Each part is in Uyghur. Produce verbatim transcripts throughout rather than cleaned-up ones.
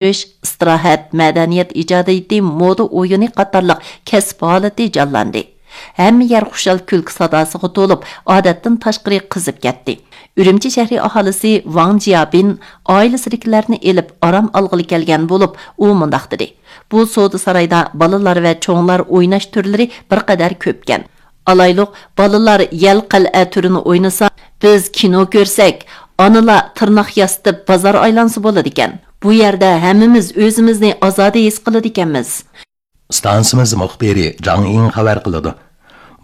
ئىستىراھەت، مەدەنىيەت ئىجادىيىتى، مودا ئويۇنى قاتارلىق كەسىپ ھالىتى جانلاندى. ھەممە يەر خۇشال كۈلكە ساداسىغا تولۇپ، ئادەتتىن تاشقىرى قىزىپ كەتتى. ئۈرۈمچى شەھىرى ئاھالىسى ۋاڭ جيابىن ئائىلىسىدىكىلەرنى ئېلىپ ئارام ئالغىلى كەلگەن بولۇپ، ئۇ مۇنداق دېدى: «بۇ سودا سارايدا بالىلار ۋە چوڭلار ئويناش تۈرلىرى بىر قەدەر كۆپكەن. ئالايلۇق، بالىلار يەل قەلئە تۈرىنى ئوينىسا، بىز كىنو كۆرسەك، ئانىلار تىرناق ياسىتىپ بازار ئايلانسا بولىدىكەن. بۇ يەردە ھەممىمىز ئۆزىمىزنى ئازادە ھېس قىلىدىكەنمىز.» ئىستانسىمىز مۇخبىرى جاڭ ئىڭ خەۋەر قىلىدۇ.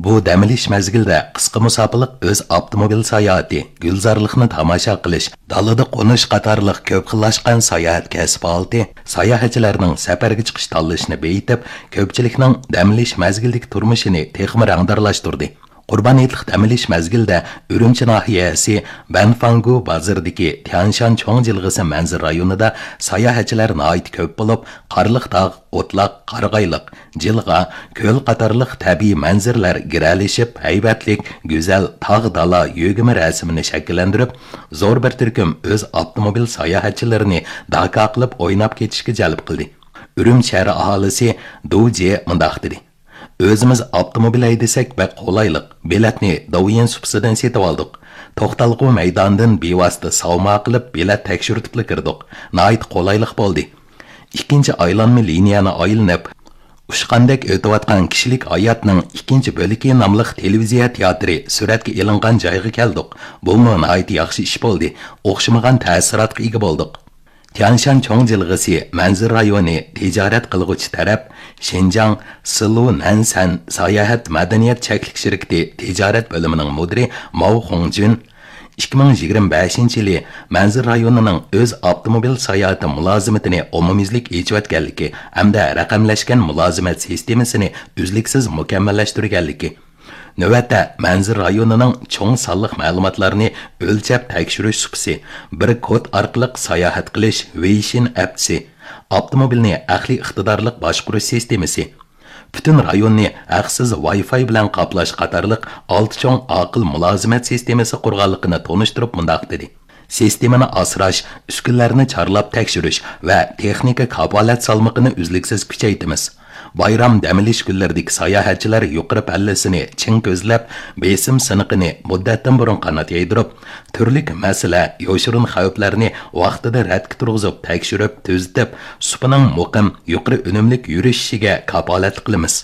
بۇ دەم ئېلىش مەزگىلىدە قىسقا مۇساپىلىق ئۆز ئاپتوموبىل ساياھىتى، گۈلزارلىقنى تاماشا قىلىش، دالىدا قونۇش قاتارلىق كۆپ خىللاشقان ساياھەت كەسىپ ھالىتى ساياھەتچىلەرنىڭ سەپەرگە چىقىش تاللىشىنى بېيىتىپ، كۆپچىلىكنىڭ دەم ئېلىش مەزگىلىدىكى تۇرمۇشىنى تېخىمۇ رەڭدارلاشتۇردى. قۇربان ھېيتلىق دەم ئېلىش مەزگىلىدە ئۈرۈمچى ناھىيەسى بەنفاڭگۇ بازىرىدىكى تيەنشان چوڭ جىلغىسى مەنزىرە رايونىدا ساياھەتچىلەر ناھايىتى كۆپ بولۇپ، قارلىق تاغ، ئوتلاق، قارىغايلىق، جىلغا، كۆل قاتارلىق تەبىئىي مەنزىرىلەر گىرەلىشىپ، ھەيۋەتلىك، گۈزەل تاغ دالا يۆگىمە رەسىمىنى شەكىللەندۈرۈپ، زور بىر تۈركۈم ئۆز ئاپتوموبىل ساياھەتچىلىرىنى داكا قىلىپ ئويناپ كېتىشكە جەلپ قىلدى. ئۈرۈمچى شەھىرى ئاھالىسى دۇ جې مۇنداق دېدى: «ئۆزىمىز ئاپتوموبىل ھەيدىسەك بەك قولايلىق، بېلەتنى داۋيۈەن سۇپىسىدىن سېتىۋالدۇق. توختالغۇ مەيدانىدىن بىۋاسىتە ساۋما قىلىپ بېلەت تەكشۈرتۈپلا كىردۇق. ناھايىتى قولايلىق بولدى.» ئىككىنچى ئايلانما لىنىيەنى ئايلىنىپ، ئۇچقاندەك ئۆتۈۋاتقان كىشىلىك ھاياتنىڭ ئىككىنچى بۆلىكى ناملىق تېلېۋىزىيە تىياتىرى سۈرەتكە ئېلىنغان جايغا كەلدۇق. بۇمۇ ناھايىتى ياخشى ئىش بولدى. ئوخشىمىغان تەسىراتقا ئىگە بولدۇق. تيەنشان چوڭ جىلغىسى مەنزىرە رايونى تىجارەت قىلغۇچى تەرەپ شىنجاڭ سىلۇ نەنسەن ساياھەت مەدەنىيەت چەكلىك شىركىتى تىجارەت بۆلۈمىنىڭ مۇدىرى ماۋ خۇڭجۈن ئىككى مىڭ يىگىرمە بەشىنچى يىلى مەنزىرە رايونىنىڭ ئۆز ئاپتوموبىل ساياھىتى مۇلازىمىتىنى ئومۇميۈزلۈك ئېچىۋەتكەنلىكى ھەمدە رەقەملەشكەن مۇلازىمەت سىستېمىسىنى ئۈزلۈكسىز مۇكەممەللەشتۈرگەنلىكى، نۆۋەتتە مەنزىرە رايونىنىڭ چوڭ سانلىق مەلۇماتلارنى ئۆلچەپ تەكشۈرۈش سۇپىسى، بىر كود ئارقىلىق ساياھەت قىلىش ۋېيشىن ئەپچىسى، ئاپتوموبىلنى ئەقلىي ئىقتىدارلىق باشقۇرۇش سىستېمىسى، پۈتۈن رايوننى ھەقسىز ۋاي فاي بىلەن قاپلاش قاتارلىق ئالتە چوڭ ئاقىل مۇلازىمەت سىستېمىسى قۇرغانلىقىنى تونۇشتۇرۇپ مۇنداق دېدى: سىستېمىنى ئاسراش، ئۈسكۈنىلەرنى چارلاپ تەكشۈرۈش ۋە تېخنىكا كاپالەت سالمىقىنى ئۈزلۈكسىز كۈچەيتىمىز. بايرام دەم ئېلىش كۈنلىرىدىكى ساياھەتچىلەر يۇقىرى پەللىسىنى چىڭ كۆزلەپ، بېسىم سىنىقىنى مۇددەتتىن بۇرۇن قانات يايدۇرۇپ، تۈرلۈك مەسىلە، يوشۇرۇن خەۋپلەرنى ۋاقتىدا رەتكە تۇرغۇزۇپ، تەكشۈرۈپ، تۈزىتىپ، سۇپىنىڭ مۇقىم، يۇقىرى ئۈنۈملۈك يۈرۈشۈشىگە كاپالەتلىك قىلىمىز.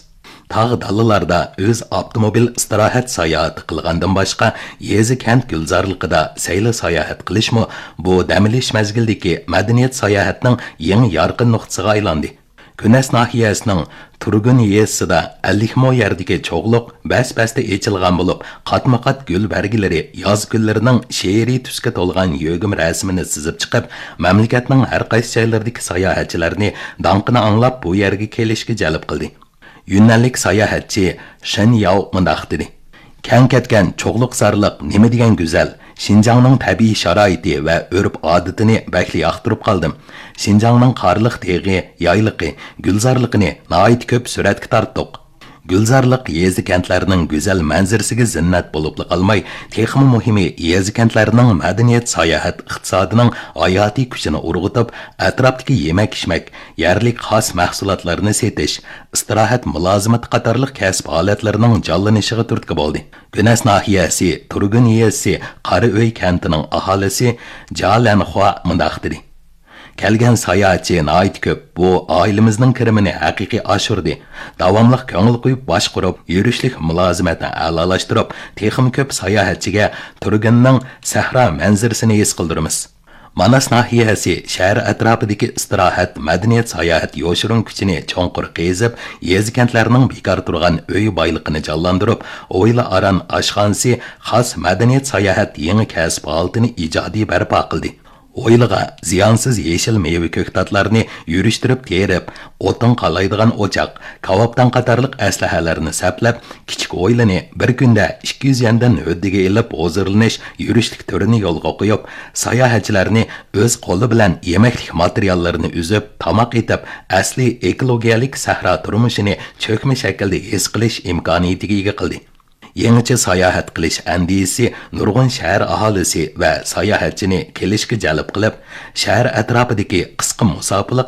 تاغ دالىلاردا ئۆز ئاپتوموبىل ئىستىراھەت ساياھىتى قىلغاندىن باشقا، يېزا كەنت گۈلزارلىقىدا سەيلە ساياھەت قىلىشمۇ بۇ دەم ئېلىش مەزگىلىدىكى مەدەنىيەت ساياھەتنىڭ يېڭى يارقىن نۇقتىسىغا ئايلاندى. گۈنەس ناھىيەسىنىڭ تۇرگۇن يېزىسىدا ئەللىك مو يەردىكى چوغلۇق بەس-بەستە ئېچىلغان بولۇپ، قاتمۇ-قات گۈل بەرگىلىرى ياز كۈنلىرىنىڭ شېئىرىي تۈسكە تولغان يۆگىمە رەسىمىنى سىزىپ چىقىپ، مەملىكەتنىڭ ھەر قايسى جايلىرىدىكى ساياھەتچىلەرنى داڭقىنى ئاڭلاپ بۇ يەرگە كېلىشكە جەلپ قىلدى. يۈننەنلىك ساياھەتچى شېن ياۋ مۇنداق دېدى: كەڭ كەتكەن چوغلۇقزارلىق نېمە دېگەن گۈزەل! شىنجاڭنىڭ تەبىئىي شارائىتى ۋە ئۆرپ-ئادىتىنى بەكلا ياقتۇرۇپ قالدىم. شىنجاڭنىڭ قارلىق تېغى، يايلىقى، گۈلزارلىقىنى ناھايىتى كۆپ سۈرەتكە تارتتۇق. گۈلزارلىق يېزا-كەنتلەرنىڭ گۈزەل مەنزىرىسىگە زىننەت بولۇپلا قالماي، تېخىمۇ مۇھىمى، يېزا-كەنتلەرنىڭ مەدەنىيەت، ساياھەت ئىقتىسادىنىڭ ھاياتىي كۈچىنى ئۇرغۇتۇپ، ئەتراپتىكى يېمەك-ئىچمەك، يەرلىك خاس مەھسۇلاتلارنى سېتىش، ئىستىراھەت مۇلازىمىتى قاتارلىق كەسىپ ھالەتلىرىنىڭ جانلىنىشىغا تۈرتكە بولدى. گۈنەس ناھىيەسى تۇرگۇن يېزىسى قارىئۆي كەنتىنىڭ ئاھالىسى جا لەنخۇا مۇنداق دېدى: كەلگەن ساياھەتچى ناھايىتى كۆپ، بۇ ئائىلىمىزنىڭ كىرىمىنى ھەقىقىي ئاشۇردى. داۋاملىق كۆڭۈل قويۇپ باشقۇرۇپ، يۈرۈشلۈك مۇلازىمەتنى ئەلالاشتۇرۇپ، تېخىمۇ كۆپ ساياھەتچىگە تۇرگۇننىڭ سەھرا مەنزىرىسىنى ھېس قىلدۇرىمىز. ماناس ناھىيەسى شەھەر ئەتراپىدىكى ئىستىراھەت، مەدەنىيەت، ساياھەت يوشۇرۇن كۈچىنى چوڭقۇر قېزىپ، يېزا-كەنتلەرنىڭ بىكار تۇرغان ئۆي بايلىقىنى جانلاندۇرۇپ، ھويلا ئاران ئاشخانىسى خاس مەدەنىيەت ساياھەت يېڭى كەسىپ ھالىتىنى ئىجادىي بەرپا قىلدى. ھويلىغا زىيانسىز يېشىل مېۋە كۆكتاتلارنى يۈرۈشتۈرۈپ تېرىپ، ئوتۇن قالايدىغان ئوچاق، كاۋاپدان قاتارلىق ئەسلىھەلەرنى سەپلەپ، كىچىك ھويلىنى بىر كۈندە ئىككى يۈز يەندىن ھۆددىگە ئېلىپ ھۇزۇرلىنىش، يۈرۈشلۈك تۈرىنى يولغا قويۇپ، ساياھەتچىلەرنى ئۆز قولى بىلەن يېمەكلىك ماتېرىياللىرىنى ئۈزۈپ، تاماق ئېتىپ، ئەسلىي ئېكولوگىيەلىك سەھرا تۇرمۇشىنى چۆكمە شەكىلدە ھېس قىلىش ئىمكانىيىتىگە ئىگە قىلدى. يېڭىچە ساياھەت قىلىش ئەندىزىسى نۇرغۇن شەھەر ئاھالىسى ۋە ساياھەتچىنى كېلىشكە جەلپ قىلىپ، شەھەر ئەتراپىدىكى قىسقا مۇساپىلىق